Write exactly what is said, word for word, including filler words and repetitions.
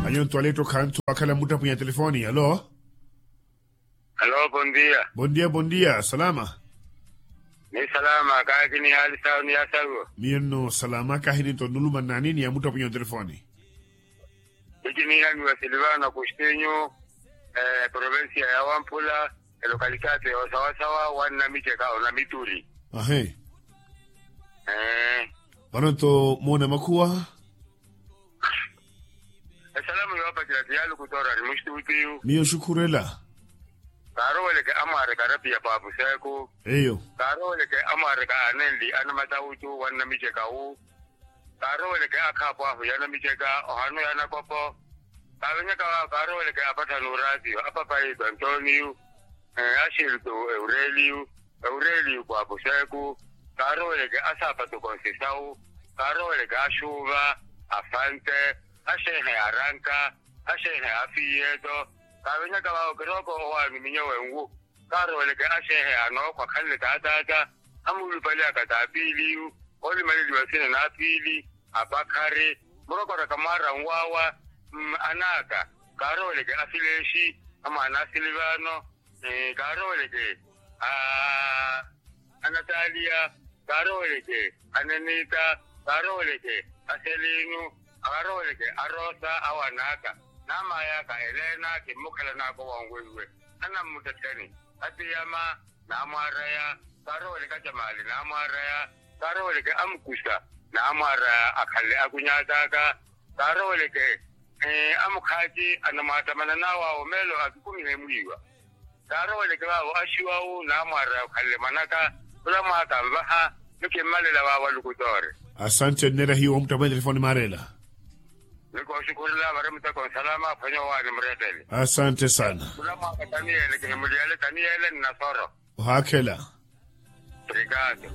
Anyo ntwaleetto khantu akhala muttapunya telefoni alo. Alo bondia. Bondia bondia salama. Ni salama kaaki ni hali sawo ni ya sawo. Miyo nno salama kaaki ni ntonnuluma nnani ni ya muttapunya telefoni. Iti ni haniwa silivano kustinyu. Provincia ya wampula. Elokalitati ya osawasawa wannamiceka onamituri. Ahe. Vano nto moona makhuwa. Esalamu yoopacela ti ya lukutora ari muxituutiyu. Miyo xukhurela. Kaaroweleke amwaareke arapiya paapuseku. Eyo. Kaaroweleke amwaareke anenli anamatawutu wannamicekawu. Kaaroweleke akhaapo ahu yanamiceka ohanu yanakopo. Kaavenyaka waawo kaaroweleke apatthani oraatiyo apapayi twantooniyu. Axiltu eureliyu eureliyu kwapuseku. Kaaroweleke asaapatu konsisawu. Kaaroweleke axuuva afante. Axeehe aranka. Axeehe afiiyeto. Kaavenyaka vaawo kirooko owaani minyo wenwu. Kaaroweleke axeehe anookhwa khanle taataata. Amuulupaliyaka taapiiliyu. Oolimaleliwa sina naapiili. Apakhari. Murokoraka mwaara nwaawa. Anaaka. Kaaroweleke afileexi. Amwaana asilivaano. Kaaroweleke anataaliya. Kaaroweleke anenita. Kaaroweleke aselinu. Kaaroweleke arosa awan'aka. N'amaay'aka elena kimmukhalan'aka owanweiwe. Anammuttetteni. Atiyama. Naamwaaraya. Kaaroweleke acamaali naamwaaraya. Kaaroweleke amukusa. Naamwaaraya akhale akuny'at'aka. Kaaroweleke amukhaati anamwaatamanan'awe awo meelo akikumihe mwiiwa. Kaaroweleke vaawo axiwawu naamwaaraya okhanle mwan'aka. Khula mwaaka nvaha. Nikimmalela vaawo alukutoore. Asante nneera hiyo wamuttapwene telefoni maareela. Nikooxukhurela vari muteko nsalama aphwanya owaani murettele. Asante sana. Khula mwaaka taniyele kihimuliyale taniyele nnasoro. Ohaakhela. Obrigado.